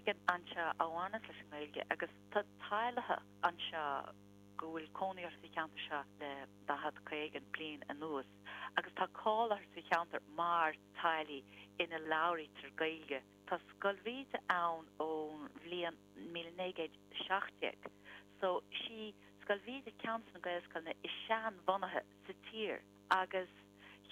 éigin anseo a bhaineas leis an nGaeilge agus tá teaghlaigh anseo go bhfuil cónaí orthu sa cheantar seo le 40, 50 bliain anuas agus tá cáil orthu sa cheantar mar teaghlaigh ina labhraítear Gaeilge. Tá Scoil Bhríde ann ón bhliain 1917 so sí Scoil Bhríde ceann de na Gaelscoileanna is seanbhunaithe sa tír agus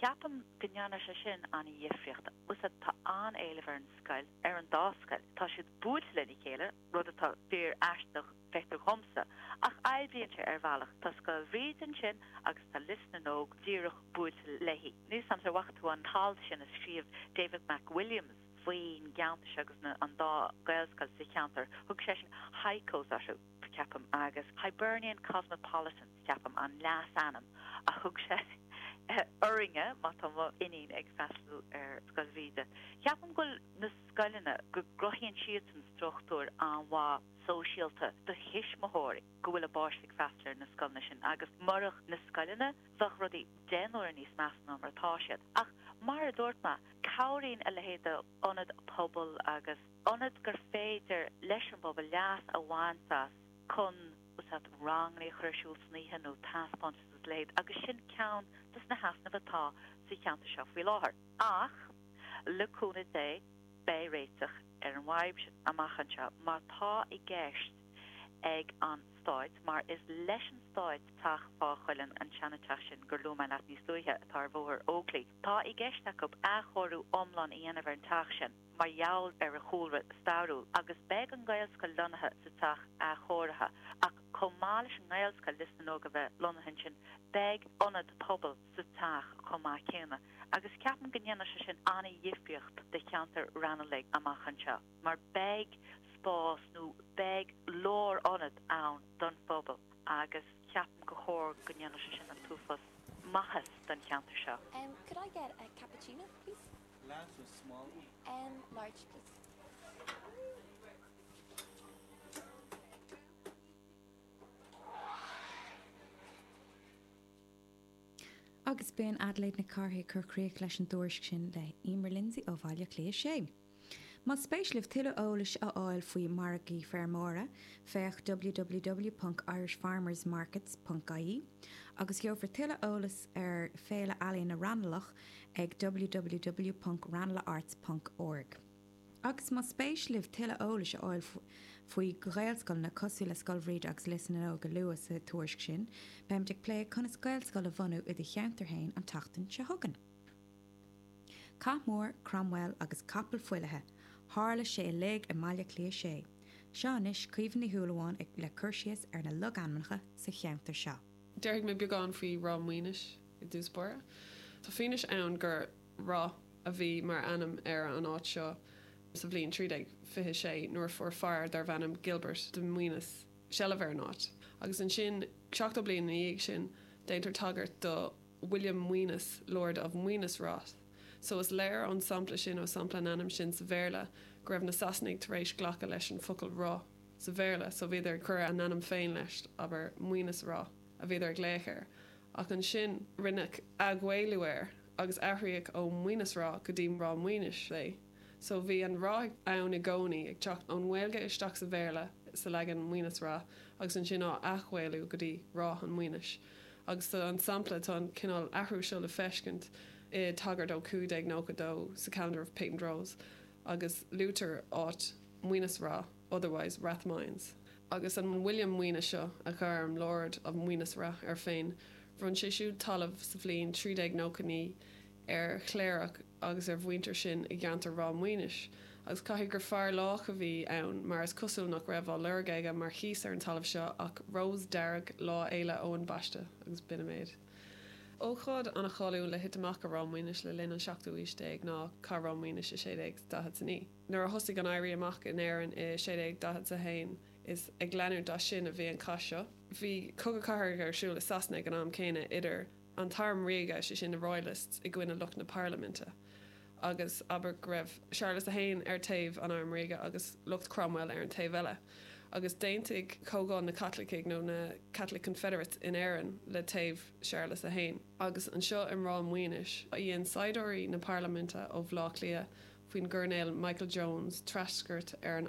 ceapaim go ndéanfaidh sé sin an-dhifríocht. Bhfuil 's a'd, tá an-éileamh ar an scoil, ar an dá scoil. Tá siad buailte lena chéile, rud atá fíor aisteach, feictear dhomsa, ach oibríonn sé ar bhealach. Tá Scoil Bhríde ansin agus tá Lios na nÓg díreach buailte léi. Níl 's a'm ar bhfaca tú an t-alt sin a scríobh David McWilliams faoin gceantar seo agus an dá Ghaelscoil sa cheantar. Thug seisean Hycos orthu. ceapaim, agus Hibernian Cosmopolitans, ceapaim, an leasainm a thug sé orainne, má tá mo iníon ag freastal ar Scoil Bhríde. Ceapaim go bhfuil na scoileanna, go gcruthaíonn siadsan struchtúr an-mhaith sóisialta do thuismitheoirí go bhfuil a bpáistí ag freastal ar na scoileanna sin agus murach na scoileanna bheadh rudaí deich n-uaire níos measa ná mar atá siad. Ach mar a dúirt mé, cabhraíonn a leithéid d'ionad pobail agus. ionad gur féidir leis an bpobal leas a bhaint as chun, bhfuil 's a'd, ranganna a chur ar siúl san oíche nó taispeántais agus a leithéid agus sin ceann dos na heasnaimh atá sa cheantar seo faoi láthair. Ach, le cúnamh Dé, beidh réiteach ar an bhfadhb sin amach anseo mar tá i gceist ag an Stáit, mar is leis an Stáit teach Fá Chuilinn, an seana-teach sin gur luaigh mé leat níos luaithe atá ar Bhóthar Oakley, tá i gceist acu athchóiriú iomlán a dhéanamh ar an teach sin. mar gheall ar a chúlra stairiúil, agus beidh an Ghaelscoil lonnaithe sa teach athchóirithe, ach chomh maith leis an nGaelscoil, Lios na nÓg, a bheith lonnaithe ansin, beidh ionad pobail sa teach chomh maith céanna, agus ceapaim go ndéanfaidh sé sin an-dhifríocht do cheantar Raghnallach amach anseo, mar beidh spás nó beidh lárionad ann don phobal, agus ceapaim gur chóir go ndéanfadh sé sin an t-uafás maitheas don cheantar seo. Could I get a cappuccino, please? Large or small? Um, large, please. Agus b'in Adelaide Nic Cárthaigh ag cur críoch leis an dtuairisc sin le Emer Lindsay ó Bhaile Átha Cliath 6. Más spéis libh tuilleadh eolais a fháil faoi mhargaí feirmeora, féach www.irishfarmersmarkets.ie agus gheofar tuilleadh eolas ar Féile Ealaíona Raghnallach ag www.ranelagharts.org. Agus más spéis libh tuilleadh eolais a fháil faoi Ghaelscoileanna cosúil le Scoil Bhríde agus Lios na nÓg a luadh sa tuairisc sin, beimid ag plé conas Gaelscoil a bhunú i do cheantar féin an tseachtain seo chugainn. Cath mór, Cromwell agus capall fuilithe, tharla sé uilig i mBaile Átha Cliath 6. Seo anois Caoimhe Ní Shúilleabháin le cur síos ar na logainmneacha sa cheantar seo. Déarfaidh mé beagán faoi Ráth Maoinis i dtús báire. Tá fianaise ann gur Ráth a bhí mar ainm ar an áit seo sa bhliain 1326 nuair a fuair fear darbh ainm Gilbert de Maoineas seilbh ar an áit. Agus ansin, 70 bliain ina dhiaidh sin, déantar tagairt do William Maoineas, Lord of Maoineas-Rath. So is léir ón sampla sin, ó sampla an ainm sin sa Bhéarla, go raibh na Sasanaigh tar éis glacadh leis an focal Ráth sa Bhéarla, so bhíodar ag cur a n-ainm féin leis, abair, Maoineas Ráth a bhíodar ag glaoch air. Ach ansin rinneadh athghaelú air agus athraíodh ó Maoineas Ráth go dtí Ráth Maoinis é. So bhí an Ráth ann i gcónaí, ag teacht ón nGaeilge isteach sa Bhéarla sa leagan Maoineas Rath agus ansin á athghaelú go dtí Ráth an Mhaoinis. Agus tá an sampla, tá an cineál athrú seo le feiscint i tagairt ó 1592 sa Calendar of Patent Rolls agus luaitear áit Maoineas Rath, otherwise Rathmines. Agus an William Maoineas seo, a ghairm Lord of Maoineas Rath air féin, bhronn sé siúd talamh sa bhliain 1399 ar chléireach agus ar mhuintir sin i gceantar Ráth Maoinis, agus caithfidh gur fear lách a bhí ann mar is cosúil nach raibh á lorg aige mar chíos ar an talamh seo ach rós dearg Lá Fhéile Eoin Baiste, agus b'in an méid. Ócáid an-cháiliúil le thit amach i Ráth Maoinis le linn an seachtú aois déag ná Cath Ráth Maoinis i 1649. Nuair a thosaigh an Éirí Amach in Éirinn i 1641 is ag leanúint as sin a bhí an cath seo. Bhí cogadh cathartha ar siúl i Sasana ag an am céanna idir an t-arm ríoga, sé sin na Royalists, i gcoinne lucht na parlaiminte, agus abair go raibh Séarlas a hAon ar taobh an airm ríoga agus lucht Cromwell ar an taobh eile. Agus d'aontaigh Comhdháil na Caitlicigh nó na Catholic Confederates in Éirinn le taobh Séarlas a hAon. Agus anseo i Ráth Maoinis a dhein saighdiúirí na parlaiminte ó Bhaile Átha Cliath faoin gCoirnéal Michael Jones treascairt ar an.